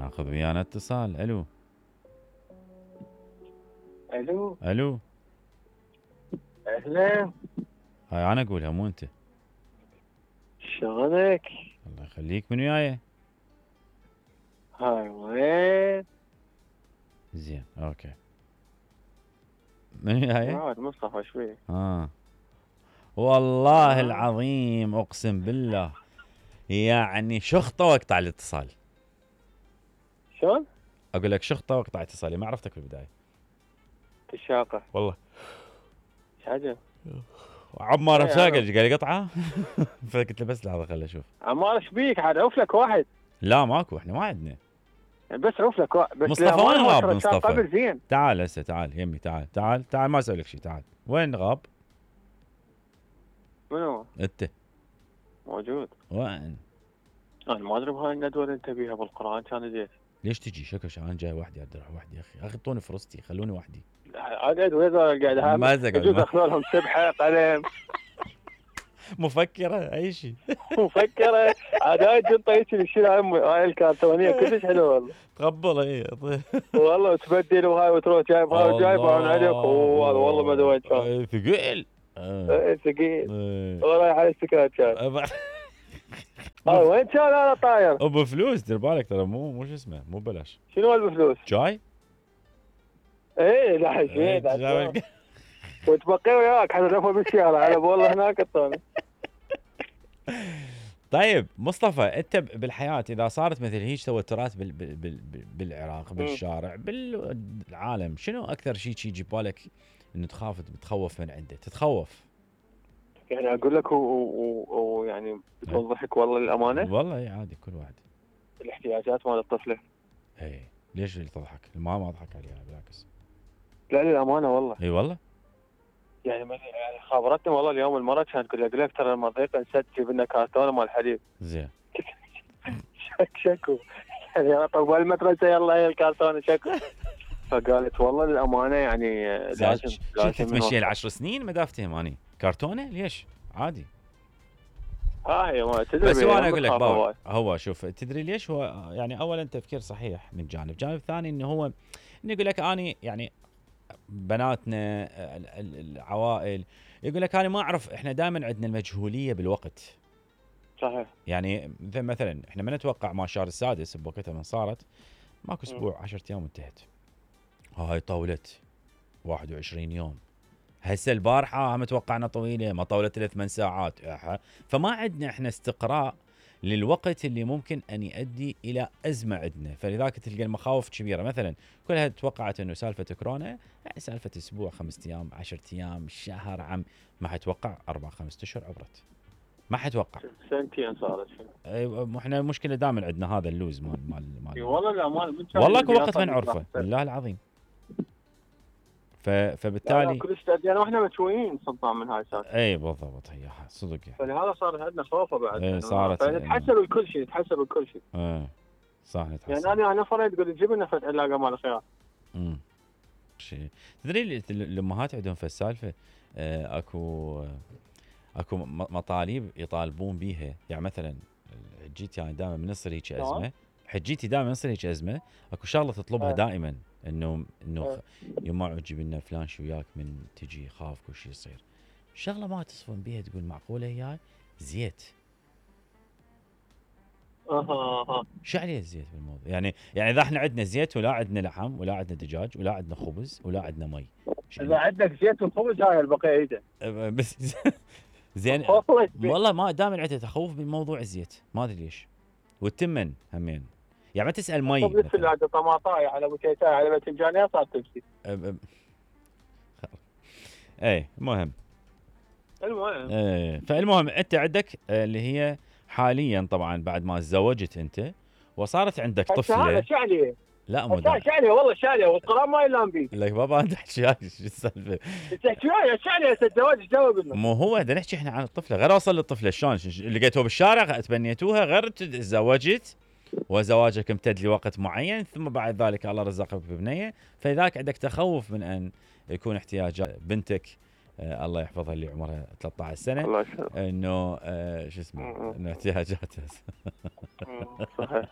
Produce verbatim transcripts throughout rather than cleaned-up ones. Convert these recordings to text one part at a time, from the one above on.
ناخذ ويانا اتصال. الو الو الو اهلا. هاي انا اقولها مو انت. شلونك؟ الله يخليك. من وياي؟ هاي وين؟ زين اوكي. من وياي؟ عاد مصطفى شوي. اه والله آه. العظيم اقسم بالله يعني شخطه واقطع الاتصال. شلون؟ اقول لك شخطه واقطع اتصالي، ما عرفتك في البدايه تشاقة والله. ايش عجب؟ عمار إيه، رفاقه أنا- قال يقطعه فقلت له بس لحظه خليني اشوف. عمار ايش بيك؟ عاد عوف لك واحد. لا ماكو، احنا ما عندنا. يعني بس عوف لك واحد بس. مصطفى وين للأمانة غاب ترى كان مصطفى؟ قبل زين. تعال هسه تعال يمي تعال تعال تعال ما اسوي لك شيء. تعال. وين غاب؟ منو؟ انت موجود. وين؟ انا ما ادري بهاي الندوه اللي انت بيها بالقران كان جيت. ليش تجي شكل انا جاي وحدي؟ ادري اروح وحدي يا اخي. اخي اعطوني فرصتي خلوني وحدي. اقعد وين قاعد هاي ما زقل يجوز ما- اخذ لهم سبحه قلم مفكره اي شيء. مفكره. عاد هاي الجنطه هيك شيل هاي الكرتونيه كلش حلوه والله. تقبل اي والله وتبدل وهاي وتروح جايب هاي وجايب هاي عليك والله ما ادري وين كان. ثقيل. ايه ثقيل. إيه. ورايح على السكات كان. أبا- هاي وين كان انا طاير؟ ابو فلوس دير بالك ترى مو مو شو اسمه مو بلاش. شنو هذا بفلوس؟ جاي؟ ايه لا إيه، شيء جاي- وتبقي وياك حتى نفر بالسياره على والله هناك الطاولة. طيب مصطفى انت بالحياه اذا صارت مثل هيك توترات بال بال بال بالعراق بالشارع بالعالم، شنو اكثر شيء يجي ببالك انه تخاف تتخوف من عنده؟ تتخوف؟ يعني اقول لك ويعني بدون ضحك والله للامانه والله اي عادي كل واحد. الاحتياجات مال الطفله. اي ليش اللي تضحك؟ ما ما اضحك عليها بالعكس. لا للامانه والله. اي والله. يعني يعني خابرتني والله اليوم المره كانت تقول لك ترى المضيق نسد جيب لنا كرتونه مال حليب. زين. شك شكو يعني طب المدرسه يلا هي الكرتونه شكو. فقالت والله للامانه يعني لازم لازم تمشي العشر سنين ما دافتهم اني كرتونه ليش؟ عادي. هاي ما تدري. بس هو انا اقول لك بابا هو شوف تدري ليش هو يعني اولا تفكير صحيح من جانب، جانب ثاني انه هو انه يقول لك اني يعني بناتنا العوائل يقول لك انا ما اعرف. احنا دائما عندنا المجهوليه بالوقت. صحيح. يعني مثلا احنا ما نتوقع ما شهر السادس بوقتها من صارت ماكو اسبوع عشرة ايام انتهت. هاي طولت واحد وعشرين يوم. هسه البارحه هم توقعنا طويله ما طولت الا ثمان ساعات. فما عندنا احنا استقراء للوقت اللي ممكن ان يؤدي الى ازمه عندنا، فلذلك تلقى المخاوف كبيره. مثلا كلها توقعت انه سالفه كورونا يعني سالفه اسبوع خمسة ايام عشرة ايام شهر عام، ما حتوقع اربع خمسة اشهر عبرت. ما حتوقع سنتين صارت. ايوه احنا المشكله دائما عندنا هذا اللوز مال مال مال والله لا مال والله اكو وقت ما نعرفه بالله العظيم. ف... فبالتالي كل يعني احنا مشويين صدام من هاي السالفه. اي بالضبط هي صدق يعني. فلهذا صار عندنا خوفه بعد. اي صارت نتحسب بكل شيء نتحسب بكل شيء. ايه صح نتحسب. يعني انا انا فريد تقول جيب لنا فتح علاقه مال الخيار. امم شيء تدري الامهات عندهم في السالفه آه اكو اكو مطالب يطالبون بيها. يعني مثلا حجيتي يعني دائما من يصير هيك ازمه حجيتي دائما يصير هيك ازمه اكو شغله تطلبها دائما انه انه يما عجب لنا فلان شو وياك من تجي خاف كل شيء يصير. شغله ما تصفن بيها تقول معقوله هي زيت. اها اها شو عليه الزيت بالموضوع؟ يعني يعني اذا احنا عندنا زيت ولا عندنا لحم ولا عندنا دجاج ولا عندنا خبز ولا عندنا مي. اذا عندك زيت وخبز هاي البقيه ايده. بس زين والله ما دائما عندي تخوف بموضوع الزيت ما ادري ليش. والتمن همين يعني ما تسال مي خبز ثلاجه طماطاي على بوتيتاي على باذنجانيه صار تمشي. اي المهم المهم ايه فالمهم انت عندك اللي هي حاليا طبعا بعد ما تزوجت انت وصارت عندك طفله. شو عليه؟ لا مو شو عليه والله شو عليه والقران ما يلام بيه. لك بابا انت تحكي شو السالفه؟ تحكي وياي شو عليه الزواج جاوب لنا. مو هو بدنا نحكي احنا عن الطفله غير اوصل للطفله شلون لقيتوها بالشارع تبنيتوها غير تزوجت وزواجك امتد لوقت معين ثم بعد ذلك الله رزقك ببنيه فلذلك عندك تخوف من ان يكون احتياجات بنتك آه الله يحفظها اللي عمرها ثلاثة عشر سنه الله يسلمك انه آه شو اسمه انه احتياجاتها صحيح صحيح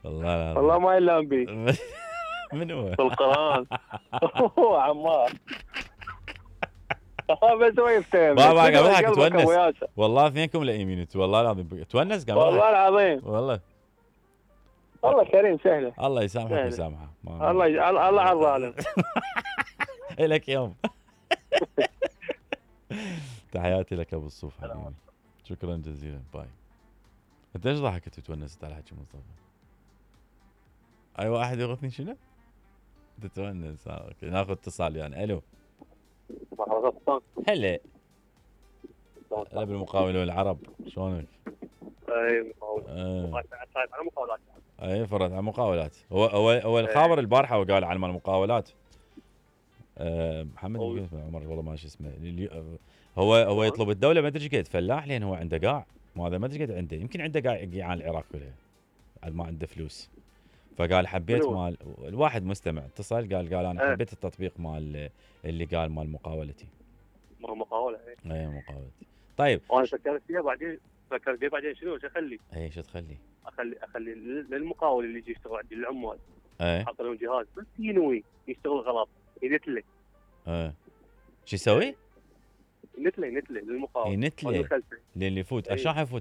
والله العظيم. والله ما يلام بي من هو؟ في القران. هو عمار. بس هو يفتهم. بابا قام يضحك قلبك تونس. أبو ياسر. والله اثنينكم لئيمين انتوا، والله العظيم تونس قام والله يضحك. العظيم. والله والله كريم سهله. الله يسامحك سهلة. ويسامحه. ما- الله ي- الله على الظالم. الك يوم. تحياتي لك ابو الصوف حبيبي. شكرا جزيلا. باي. انت ايش ضحكت وتونست على حكي مصطفى؟ اي واحد يغثني شنو؟ تتونس. آه، اوكي ناخذ اتصال يعني. الو. هلا. هلا بالمقاولون العرب، شلونك؟ اي مقاولات. آه. على مقاولات. اي فرد على مقاولات. هو هو هو الخابر البارحه وقال عن مال المقاولات. آه محمد أوه. بن عمر والله ما شو اسمه. اليو- هو هو يطلب الدوله ما ادري ايش قد فلاح، لان هو عنده قاع. ما هذا ما ادري قد عنده، يمكن عنده قاع قيعان العراق كلها. عاد ما عنده فلوس. فقال حبيت منو؟ مال الواحد مستمع اتصل قال قال انا إيه. حبيت التطبيق مال اللي قال مال مقاولتي. ما هو مقاوله. اي اي مقاولتي. طيب وانا فكرت فيها بعدين، فكرت فيها بعدين شنو شو اخلي؟ اي شو تخلي؟ اخلي اخلي للمقاول اللي يجي يشتغل عندي العمال اي حاط لهم جهاز بس ينوي يشتغل غلط ينتله اي شو يسوي؟ ينتله ينتله للمقاول. ينتله والخلفي. للي يفوت. إيه. شلون حيفوت